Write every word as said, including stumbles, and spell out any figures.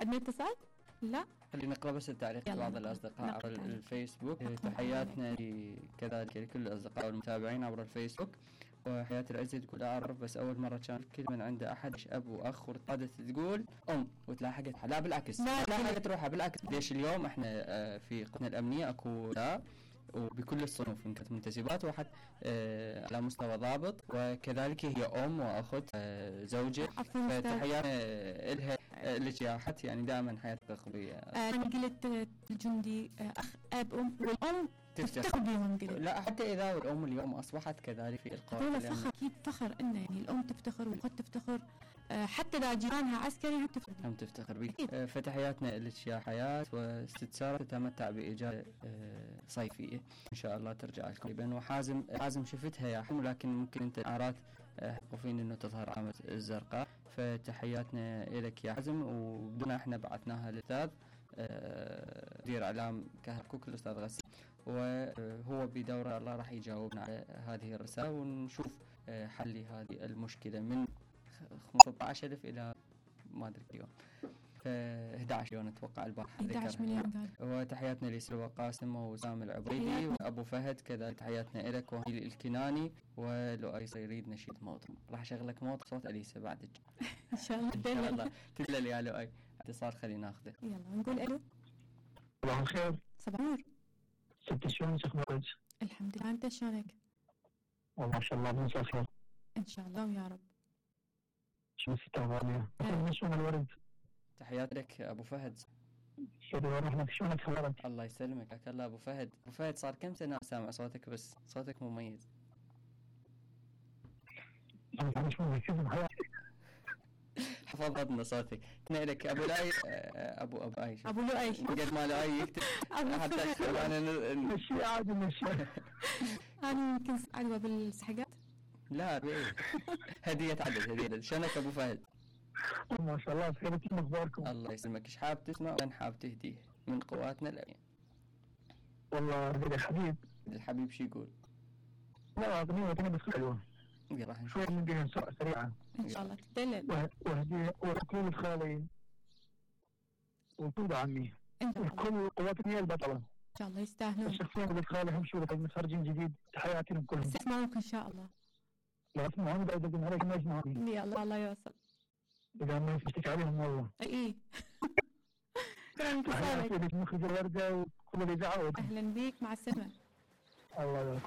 عندنا اتصال؟ لا. خلينا نقرأ بس التعليق بعض الأصدقاء عبر الفيسبوك. تحياتنا كذلك لكل الأصدقاء والمتابعين عبر الفيسبوك. وحياتي العزة تقول أعرف بس أول مرة كان كل من عنده أحد أب وأخ وارتادت تقول أم وتلاحقت. لا بالعكس، لا تلاحقت روحها بالعكس. ليش اليوم إحنا في قطنا الأمنية أكو لا وبكل الصنوف إن كانت منتسبات واحد آه على مستوى ضابط، وكذلك هي أم وأخت آه زوجة. فتحياتنا إلها اللي جاحت يعني دائما حياتها قوية. آه أنا قلت الجندي آه أخ أب أم والأم تفتخر بيهم. قلت لا حتى إذا الأم اليوم أصبحت كذلك في القوات. هذول فخر أكيد فخر إنه يعني الأم تفتخر والأخت تفتخر، آه حتى إذا جيرانها عسكري هم تفتخر هم تفتخر بك. آه فتحياتنا لك يا حياة، وست سارة تتمتع بإجازة آه صيفية إن شاء الله ترجع لكم قريبا. وحازم حازم شفتها يا حم، لكن ممكن أنت أعراض حقوفين إنه تظهر علامة الزرقاء. فتحياتنا لك يا حازم، وبدنا إحنا بعثناها للأستاذ مدير إعلام كهرباء كوك الأستاذ غسيل، وهو بدورة الله راح يجاوبنا على هذه الرسالة ونشوف حل هذه المشكلة من خمسة عشر ألف إلى ما أدري اليوم ف أحد عشر مليون أتوقع البارحة. أحد عشر مليون قال. وتحياتنا لسلوى قاسم وسام العبيدي وأبو فهد كذا. تحياتنا لك وهيل الكناني ولؤي يريد نشيد موطن. راح أشغلك موطن صوت أليسا بعدك إن شاء الله. إن شاء الله تدلل يا لؤي. اتصال خلينا ناخذه. يلا نقول ألو. صباح الخير. صباح النور. ست شلونك أخبارك؟ الحمد لله، أنت شلونك؟ والله ما شاء الله مساء الخير. إن شاء الله ويا رب. شو ستة غالية؟ شلون الورد؟ تحيات لك أبو فهد. شكرا ورحمة. شلونك أخبارك؟ الله يسلمك. حياك الله أبو فهد. أبو فهد صار كم سنة سامع صوتك، بس صوتك مميز. أنا شو مركز بحياتك؟ حفظتنا صوتك. كنا لك أبو لاي أبو أبو أي أبو لؤي قد ما لؤي يكتب حتى أكتب أنا مشي عادي مشي. أنا يمكن عدوى بالسحقات. لا بإيه هدية عدد هدية. شلونك أبو فهد؟ ما شاء الله بخير. كيف أخباركم؟ الله يسلمك. إيش حاب تسمع وين حاب تهديه من قواتنا الأمنية؟ والله هدي الحبيب. الحبيب شو يقول؟ لا أغنية أنا بس حلوة. راح نشوف. شوي نديها سريعة. إن شاء الله تدلل. وهدية وكل خالي وكل عمي وكل قواتنا البطلة. إن شاء الله يستاهلون. الشخصين اللي خالي هم شو متخرجين جديد. تحياتهم كلهم. يسمعوك إن شاء الله. لا اسمعوني بعد أقول عليك ما يسمعوني. يلا الله يوصل. إذا ما يفتك عليهم والله. إيه. تحياتي لك مخرج الوردة وكل اللي دعوة. أهلا بيك، مع السلامة. الله يبارك.